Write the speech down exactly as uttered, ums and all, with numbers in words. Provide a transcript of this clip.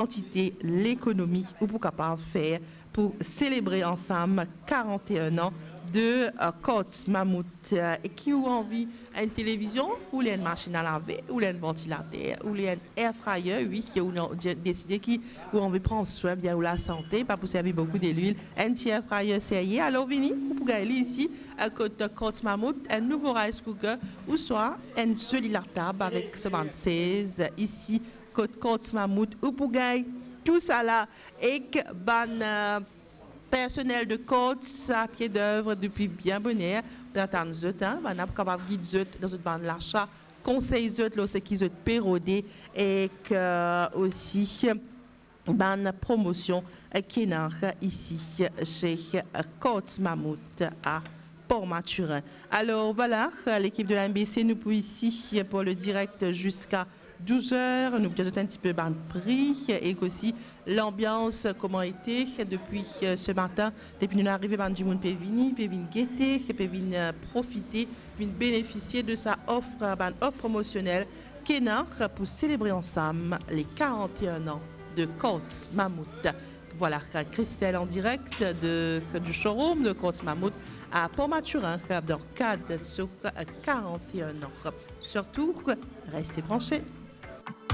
kantite lekonomi ou pou kapav fer pou selebre ansam karant-e-enn an de, eh, Courts Mammouth. Eh, e ki ou anvi enn televizion, ou le enn masinn a lave, ou le enn vantilater, ou le enn air fryer, wi, ki ou ena de-, deside ki ou anvi pran swin bien ou lasante, pa pou servi boukou delwil, enn ti air fryer serye, alor vini, ou pou gagn li isi, eh, kot Courts Mammouth, enn nouvo rice cooker, ouswa enn zoli latab avek so bann sez isi, kot Courts Mammouth, ou pou gagn tousala ek bann, eh, personel de Courts a pie dev depi bien boner, pe atann zot, hein, bann la pou kapav gid zot dan zot bann lasa, konsey zot lor seki zot pe rode, ek, eh, osi bann promosion, eh, ki ena isi se, eh, Courts Mammouth a Port Mathurin. Alor, vwala, eh, lekip de la M B C, nou pou isi, eh, pou le direk ziska douz er. Nou pou dir zot enn tipe bann pri, eh, ek osi lanbians, eh, kouma ete, eh, depi, eh, se matin, depi nou arive, bann dimoun pe vini, pe vinn gete, pe vinn, eh, profite, vinn benefisie de sa of, eh, bann of promosionel ki ena pou selebre ansam le karant-e-enn an de Courts Mammouth. Vwala, Christelle an direk de, du showroom de Courts Mammouth a Port Mathurin, dan kad so karant-e-enn an. Sirtou, reste branche.